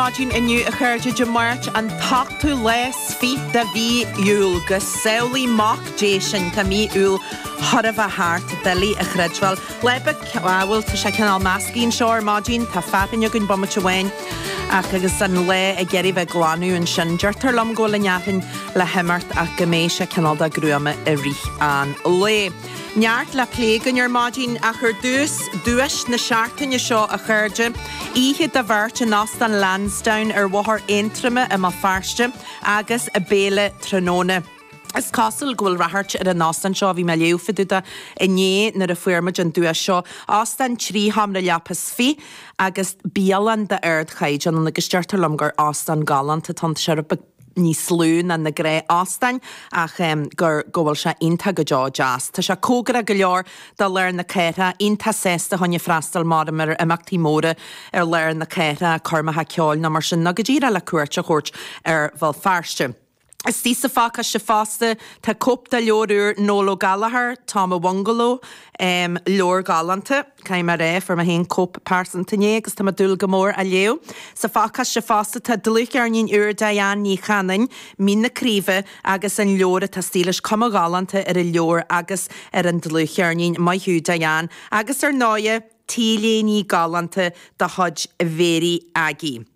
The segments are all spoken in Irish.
maidin inniu a chairde, Dé Máirt an t-ochtú lá 's fiche de mhí Iúil. Go samhlaí Mac Dé sinn, tá mí Iúil chóir a bheith thart, doiligh a chreidbheáil. Lá beag, bhuel, tá sé cineál measctha anseo ar maidin, tá fearthainn againn bomaite amháin ach agus an lá ag iarraidh bheith ag glanadh ansin. Deirtear liom go bhfuil an fhearthainn le himeacht ach go mbeidh sé cineál de gruama i rith an lae. Neart le plé againn ar maidin ach ar dtús, duais na seachtaine seo a chairde, oíche do bheirt in Óstán Lansdowne ar Bhóthar Aontroma i mBéal Feirste agus béile tráthnóna. Is cosúil go bhfuil ráchairt ar an óstán seo, bhí mé ag léamh fá dtaobh de inné nuair a fuair muid an duais seo. Óstán 13 sheomra leapa agus bialann d'ardchaighdeán ann agus deirtear liom gur óstán galánta atá ann, tá sé rud beag níos lú ná na gnáth-óstáin ach gur go bhfuil sé iontach go deo deas. Tá sé cóngarach go leor do lár na cathrach, iontach sásta chun freastal mar ar imeachtaí móra ar lár na cathrach, coirmeacha ceoil nó mar sin, nó go díreach le cuairt a thabhairt ar Bhéal Feirste. Istigh sa phacáiste fosta tá cóip de leabhar úr Noel Ó Gallchóir, Tom a Bhungaló, leabhar galánta, caithfidh mé a rá, fuair mé féin cóip pearsanta inné agus tá mé ag dúil go mór á léamh. Sa phacáiste fosta tá dlúthcheirnín úr Diane Ní Chanainn, Mín na Craoibhe, agus an leabhar atá istigh leis, cuma ghalánta ar an leabhar agus ar an dlúthcheirnín. Maith thú Diane. Agus ar ndóighe, T-léine galánta de chuid Mhéirí Aggie.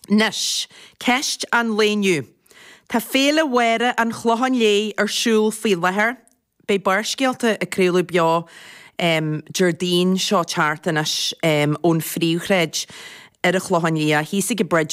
Anois, ceist an lae inniu. Tá Féile Mháire an Chlocháin Léith ar siúl faoi láthair. Beidh Barrscéalta ag craoladh beo Déardaoin seo teacht anois ón phríomhshráid ar an Chlochán Liath, thíos ag an Bridge.